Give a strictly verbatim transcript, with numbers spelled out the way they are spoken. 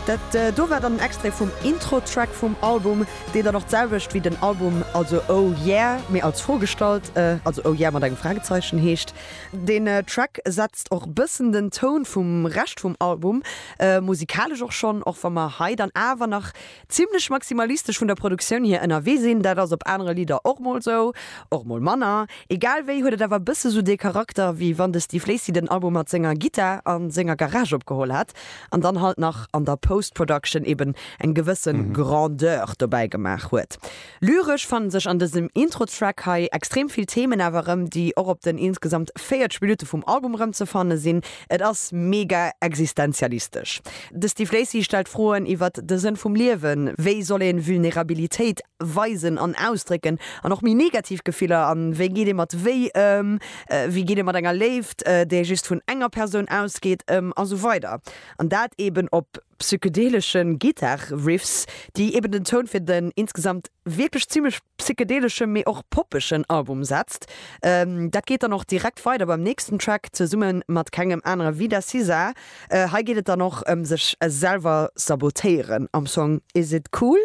Dat äh, do war dann en Extrait vum Intro-Track vum Album, deen dann och d'selwecht wéi den Album, also Oh Yeah, mee als Fro gestallt, äh, also Oh Yeah mat engem Fragezeichen heescht. Den äh, Track setzt och bëssen den Toun vum Rescht vum Album, äh, musikalesch och schonn, och wa mer hei dann awer nach zimmlech maximalistesch vun der Produktioun hier ënnerwee sinn, dat ass op anere Lidder och mol sou, och mol manner. Egal wéi huet et awer bësse sou de Charakter, wéi wann de Steve Lacy den Album mat senger Gittar a senger Garage opgeholl hätt an dann halt nach an der Post-Production eben eng gewësse mhm. Grandeur dobäi gemaach huet. Lyresch fannen sech an dësem Intro-Track hei extrem vill Themen awer rëm, déi och op den insgesamt véierzeg Minutte vum Album rëm ze fanne sinn. Et ass mega existenzialistesch. De Steve Lacy stellt Froen iwwer de Sënn vum Liewen, wéi soll een Vulnerabilitéit weisen an ausdrécken an och méi negativ Gefiller an wéi geet ee mat wéi ëm, äh, wéi geet ee mat enger Léift, äh, déi just vun enger Persoun ausgeet ëm a sou weider. An dat eben op psychedeleschen Gitarre-Riffs, déi eben den Toun fir den insgesamt wierklech zimmlech psychedeleschen, mee och poppegen Album setzt. Ähm, dat geet dann och direkt weider beim nächsten Track zesumme mat kengem anere wéi der S Z A. Äh, hei geet et dann och ëm sech selwer sabotéieren am Song Is It Cool?